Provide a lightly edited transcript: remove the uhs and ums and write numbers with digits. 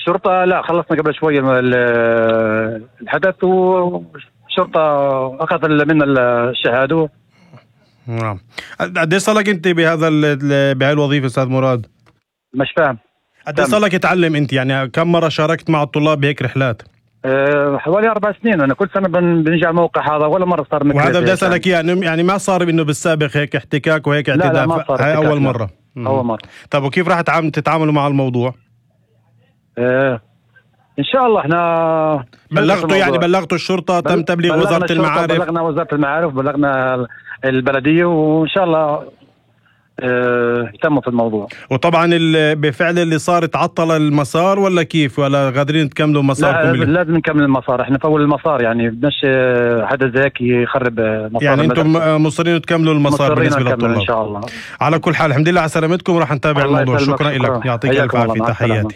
الشرطة لا، خلصنا قبل شوي الحدث، والشرطة أخذ منا الشهادة. نعم. قديش صار لك أنت بهاي الوظيفة أستاذ مراد؟ مش فاهم. قديش صار لك تعلم أنت؟ يعني كم مرة شاركت مع الطلاب بهيك رحلات؟ حوالي 4 سنين. أنا كل سنة بنجي على الموقع هذا، ولا مرة صار مثل وهذا بدي أسألك يعني ما صار إنه بالسابق هيك احتكاك وهيك اعتداء؟ لا ما صار. هاي أول مرة. أول مرة. طب وكيف راح تتعاملوا مع الموضوع؟ إن شاء الله إحنا بلغتوا الشرطة؟ تم تبليغ وزارة المعارف؟ بلغنا وزارة المعارف، بلغنا البلدية، وإن شاء الله يتموا في الموضوع. وطبعا بفعل اللي صار تعطل المسار ولا كيف؟ ولا قادرين تكملوا مساركم؟ لا لازم نكمل المسار. احنا فول المسار، يعني بدناش حدا زيك يخرب مسار. يعني انتم مصرين تكملوا المسار بالنسبة للطلاب؟ ان شاء الله. على كل حال الحمد لله على سلامتكم، وراح نتابع الموضوع. شكرا لك، يعطيك الف عافية، تحياتي.